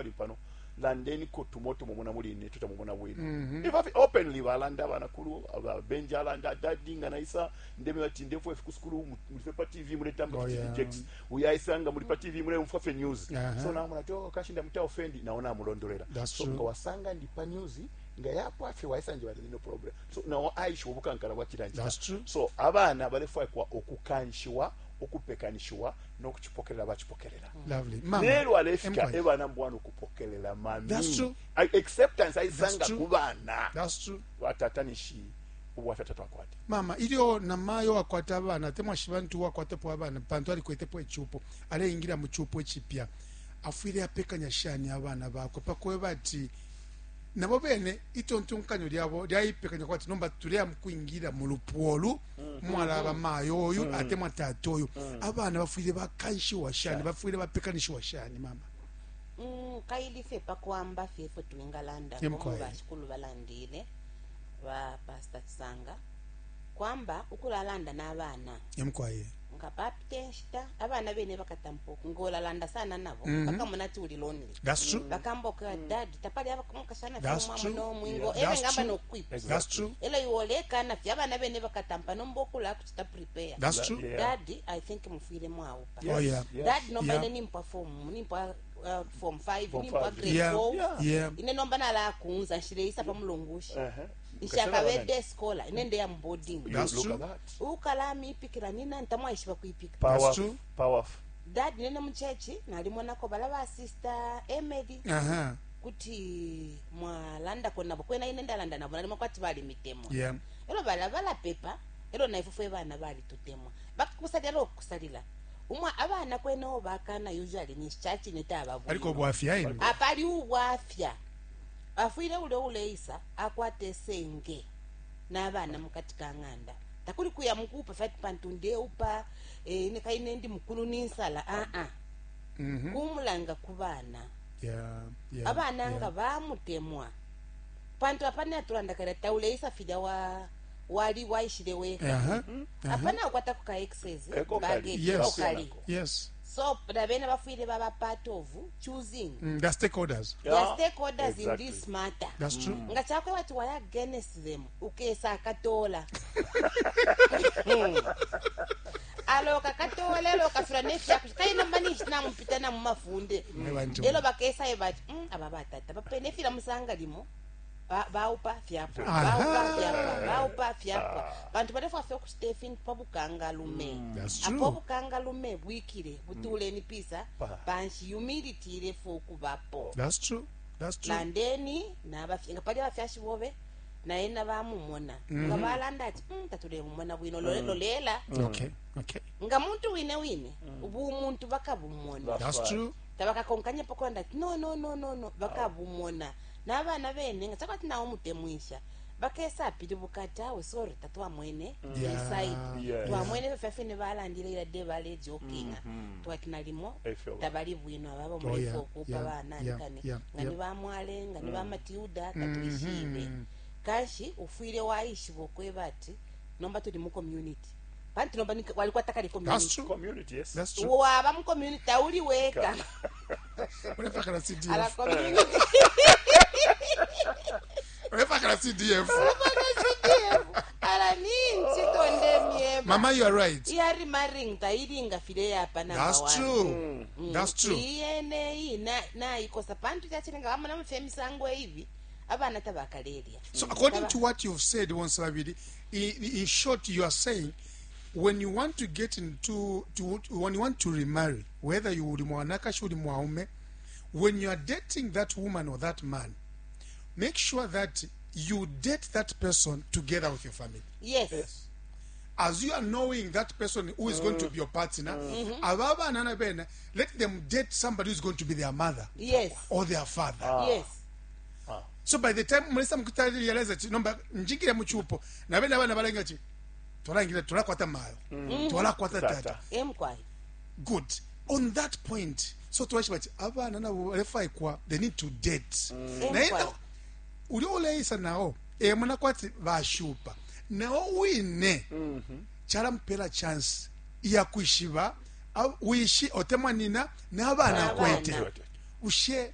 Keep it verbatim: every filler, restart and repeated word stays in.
Pali pano landeniko tumo tumumona muli ine tutamumona bwino mm -hmm. If openly balanda banakulu abenja alanda, "Daddy, nga naisa ndeme ati ndefwe ku sukulu mulife pa T V muletamba." Oh, yeah. Jakes uyaisanga muli pa T V muleumfwa fe news. Uh -huh. So namona ati, "Oh, kashi ndamuta offend," naona amulondolera. That's So true. nga wasanga ndi pa news nga yapo afe waisanje bati no problem. So nawo aisha obukankala bwachilanjika. That's true. So abana balefwaikwa okukanshiwa, okupekanishiwa n'okukipokerera bakipokerera. Lovely. Mama. Lero alefika Empire. Ebana mbwana okupokerera mami. That's true. I- acceptance aisanga That's true. ku bana. That's true. Batatanishi obwaffe tatwakwate. Mama, ilyo namayo wakwata abana atemwa shibantu wakwatapo abana pantu alikwetepo echupo aleingira mu chupo echipya afwile apekanya shani abana bakwe pakweba ati nabo bene itontonkanyo lyabo lyaipekanya kwati nomba tuleya mukwingira mu lupwa mwalaba mayo oyu atemwa tata oyu. Abana bafwile bakanshiwa shani, bafwile bapekanishiwa shani, mama? Mm, kaili fye pakwamba fye ifwe twingalanda Yemkwaye. ngomu bashikulu balandile ba Pastor Chisanga kwamba ukulalanda n'abaana Emkwaye. Nga papita enshita abana bene bakatampa ngolalanda sana nabo Mhm. bakamona ati uli lonely. That's true. Bakamboka, "Dad, tapali abakashana That's fye true. nomwingo." Yeah. Ebe That's ngamba true. nokukwipusha. That's true. Elo iwolekana fye abana bene bakatampa nomba okula kuchita prepare. That's true. Yeah. Dad, I think mufwile mwaupa. Oh, yeah. Yes. Dad, nomba Yeah. ine nimpwa form nimpwa uh, form five, Form nimpwa five. grade Yeah. four. Yeah. Yeah. Ine nomba nalakunza nshileisa pa mulungushi. Uh-huh. Nshakabede scholar, ine ndeya mu boarding. You That's look true. at that. Ukalami ipikira nina ntamwaishiba kuipika. Power, true. power. Dad, nene mu church nalimonako bala ba Sister Emily Aha. kuti mwalandako nabo kwena ine ndalanda nabo nalimo kwati bali mitemwa. Yeah. Elo bala balapepa elo naife fwe bana balitutemwa bakakusalila lokukusalila umwa abana kwenewo bakana usually ni chachine Aliko tababwino. bwafya ine. Apali ubwafya afwile ule uleisa akwate esenge n'abaana mukati ka ng'anda takuli kuya mukuupa fati pantu ndeupa eh, ine kaine ndi mukulu ninsala aa Mhm. kumulanga ku baana. Yeah. Yeah. Abaana yeah. nga bamutemwa pantu apana atulanda kale tauleisa filya wa wali waishile weka. Aha. Aha. Apana ukwatako ka excess Eko kali. baggage. Yes. Eko kali. Yes. So nabene bafwile baba part of choosing. Mm, the stakeholders. The stakeholders Exactly. in this matter. That's true. Nga chakwe bati wali against them ukesa akatola aloka katola elo kafira nefyakusha kaina mani namupita namumafunde. Mwe bantu. Elo bakesayo bati, "Mm, aba batata bapene fila musanga limo ba- baupa fyapwa." Aha. Baupa fyapwa, baupa fyapwa bantu balefwafye okuchita efintu pa bukangalume. That's Apo true. obukangalume bwikile butuleni pisa Pa. panshi humility ilefe okubapo. That's true. That's true. Landeni nabafye nga pali abafyashi bobe naye nabamumona nga balanda ati, "Mm, tatulemumona bwino." Lole- lolela Okay. Okay. nga muntu wine wine bumuntu bakabumona. That's That's right. true. Tabakakonkanya pakulanda ati no no no no no bakabumona n'abaana bene nga chakwati nawo mutemwisha bakesa apilibuka ati, "Awe, sorry, tatwamwene Yeah. inside." Yes. Twamwene ffe balandile ila de balejokinga twati nalimo Efyo ba. tabali bwino ababa Oh, mulefe yeah, okuupa yeah, baana yeah, nkane yeah, nga ni yeah. bamwale nga ni bamatilda tatwishibe. Kanshi ufwile waishiba okweba ati nomba tuli mu community pantu nomba ni- walikwata kali That's community. true. Community, yes. That's true. Waba mu community tauli weka. Ulefakala C D F. Ala community. Ulefakala C D F. Ala ninchi tonde myeba. Mama, you are right. Iyari maring tailinga file yapa number That's one. true. That's true. Iyene iyi naikosa pantu chachilenga vamona mufe misango ivi abana tabakalelya. So according to what you've said, Wonsabili, in, in short, you are saying when you want to get into to, when you want to remarry, whether you uli mwanakashi uli mwaume, when you are dating that woman or that man, make sure that you date that person together with your family. Yes. Yes. As you are knowing that person who is going to be your partner, ababa nana bene, let them date somebody who is going to be their mother Yes. or their father. Yes. So by the time mulesa mukutali realize ati nomba njingire muchupo na bene abana balenga ati twalangira twalakwata mayo twalakwata Tata. tata. Emkwai. Good on that point. So twashiba ati abana nabo balefaikwa they need to date naye Emkwai. uli oleisa nawo emona kwati bashupa nawo wine chalamupela chance iyakwishiba wishi otemwa nina n'abana N'abana. akwete ushe